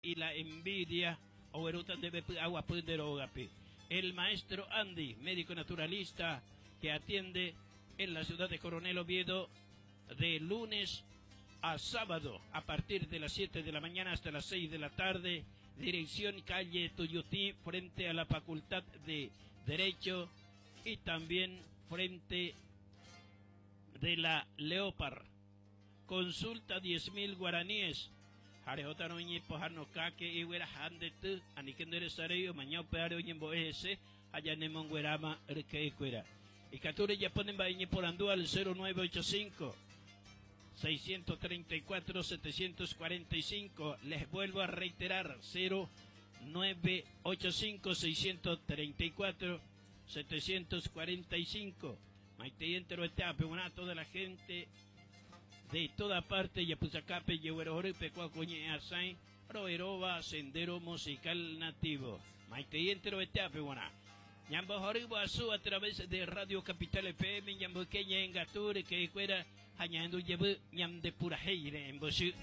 Y la envidia oguerúta ndéve py'aguapy nde rógape. El maestro Andy, médico naturalista que atiende en la ciudad de Coronel Oviedo de lunes a sábado a partir de las 7 de la mañana hasta las 6 de la tarde, dirección calle Tuyutí, frente a la Facultad de Derecho y también frente de la Leopard. Consulta 10.000 guaraníes. Jarehótarõ iñepohanokáke igueraha nde ty, aníke nde resarei omaña upévare oñembo'e hese ha ñanemongueráma ryke'ykuéra. Ikatu rejapo ne mba'e ñeporandu al 0985 634 745. Les vuelvo a reiterar 0985 634 745. Maitei enteroete apeguarã toda la gente de toda parte japysakápe jeguerohorýpe kua ko ñe'ẽ asãi ro'eróva Sendero Musical Nativo. Maitei enteroete apeguarã. Ñambohory guasu a través de Radio Capital FM ñamboyke ñe'ẽngatu ryke'ykuéra ha ñahendu jevy ñande purahéi re'ẽmbochy.